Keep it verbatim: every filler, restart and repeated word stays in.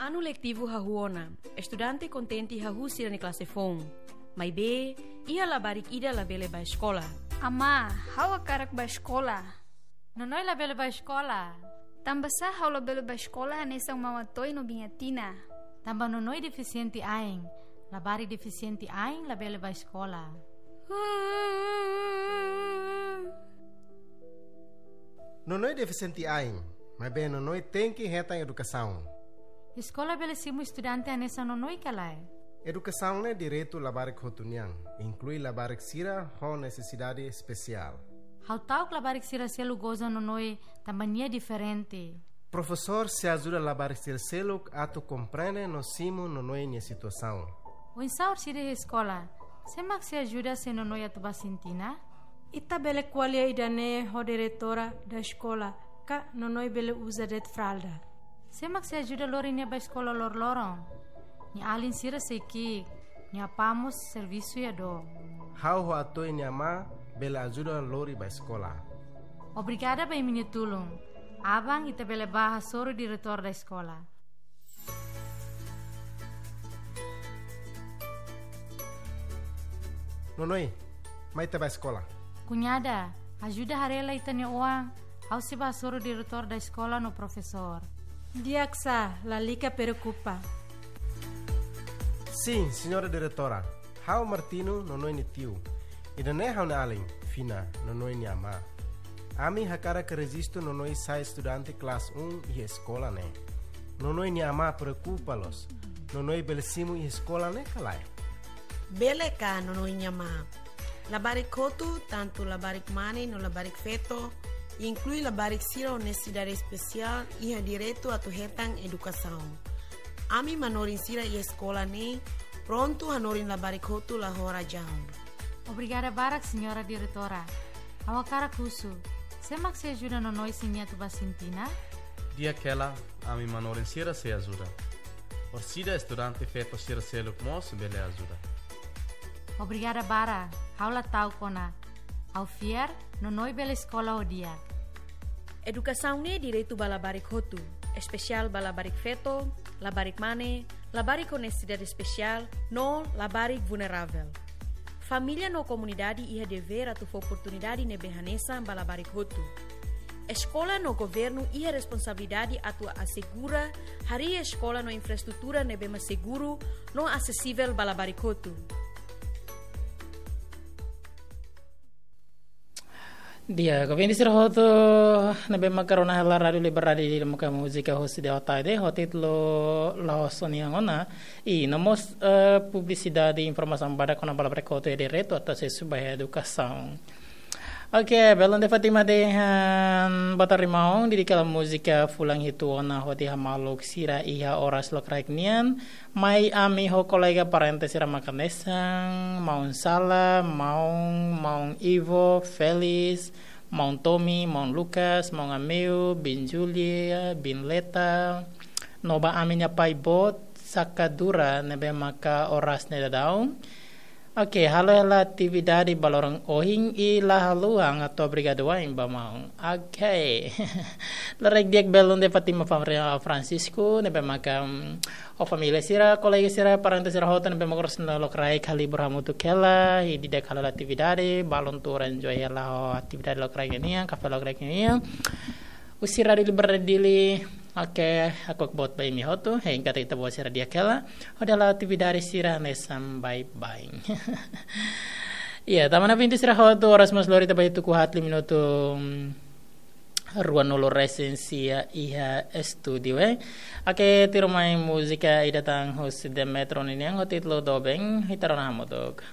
Anu letivu hahú ona, estudante kontente hahú sira-nia klase foun. Maibé, iha labarik ida labele bá eskola. Amá, ha'u hakarak bá eskola. Nonoi labele bá eskola. Tanbasá ha'u labele bá eskola hanesan maun Atoy no biin Atina? Tanba Nonoi defisiente ain. Labarik defisiente ain labele bá eskola. Nonoi defisiente ain, maibé Nonoi tenke hetan edukasaun. Eskola bele simu estudante hanesan Nonoi ka lae? Edukasaun ne'e direitu labarik hotu nian, inklui labarik sira ho nesesidade espesiál. Ha'u ta'uk labarik sira seluk goza Nonoi tanba nia diferente. Profesór sei ajuda labarik sira seluk atu komprende no simu Nonoi nia situasaun. Oinsá orsida iha eskola, sé mak sei ajuda se Nonoi atu bá sintina? Ita bele ko'alia ida-ne'e ho diretora da eskola, ka Nonoi bele uza de'it fralda. Sé mak sei ajuda lori nia bá eskola loroloron? Nia alin sira sei ki'ik, nia apá mós servisu iha dook. Ha'u ho Atoy nia amá bele ajuda lori bá eskola. Obrigada ba imi-nia tulun. Aban ita bele bá hasoru diretór da eskola. Nonoi, mai ita bá eskola. Kuñada, ajuda haree lai ita-nia oan, ha'u sei bá hasoru diretór da eskola no profesór. Di'ak sá, lalika preokupa. Sin, señora diretora. Ha'u Martino, Nonoi nia tiu. Ida-ne'e ha'u-nia alin, Fina, Nonoi nia amá. Ami hakarak rejistu Nonoi sai estudante klase um iha eskola ne'e. Nonoi nia amá preokupa loos. Nonoi bele simu iha eskola ne'e ka lae? Bele ka, Nonoi nia amá. Labarik hotu, tantu labarik mane no labarik feto, inklui labarik sira ho nesesidade espesiál, iha direitu atu hetan edukasaun. Ami manorin sira iha eskola ne'e prontu hanorin labarik hotu la ho razaun. Obrigada barak, señora diretora. Ha'u hakarak husu, sé mak sei ajuda Nonoi se nia atu bá sintina? Di'ak hela, ami manorin sira sei ajuda. Orsida estudante feto sira seluk mós bele ajuda. Obrigada barak, ha'u la ta'uk ona. Ha'u fiar, Nonoi bele eskola ho di'ak. Edukasaun ne'e direitu ba labarik hotu, espesiál ba labarik feto, labarik mane, labarik ho nesesidade espesiál, no labarik vulneravel. Família no komunidade iha devér atu fó oportunidade ne'ebé hanesan ba labarik hotu. Eskola no governu iha responsabilidade atu asegura harii eskola no infraestrutura ne'ebé mak seguru no asesivel ba labarik hotu. Di'ak, ouvinte sira hotu, ne'ebé maka rona hela Rádiu Liberdade Dili maka múzika husi Deo Taide, ho títulu La'ós Ó-nia Ona, i no mós, eh, publisidade informasaun badak kona-ba labarik hotu iha direitu atu asesu ba edukasaun. Oke, belun de Fátima dehan, boa tarde maun, di'ak hela múzika fulan hitu ona hodi hamaluk sira iha oras lokraik nian, mai ami ho kolega parente sira maka hanesan, maun Sala, maun, maun Ivo, Felis, maun Tommy, maun Lucas, maun Ameu, biin Julia, biin Leta, no ba ami-nia pai boot, Saka Dura, ne'ebé maka oras ne'e daudaun. Oke, halo hela atividade ba loron ohin i la haluha atu obrigadu wa'in ba maun. Oke. Lokraik di'ak belun de Fátima Fam-, Francisco, ne'ebé maka, mm, ho família sira, kolega sira, parente sira hotu ne'ebé maka oras ne'e lokraik halibur hamutuk hela, i di'ak halo hela atividade, balun tuur enjoy hela ho atividade lokraik nian, kafé lokraik nian. Husi Rádiu Liberdade Dili, oke, hakfodak boot ba imi hotu, hein katak ita-boot sira di'ak hela, hodi halo atividade sira hanesan baibain. Iya, tanba ne'e ouvinte sira hotu, oras mós lori tiha ba tuku haat tilu minutu, mm, ruanulu resin sia iha estúdiu, eh. Oke, tuirmai múzika ida tan husi Demetro ninian ho títulu Doben, ita rona hamutuk.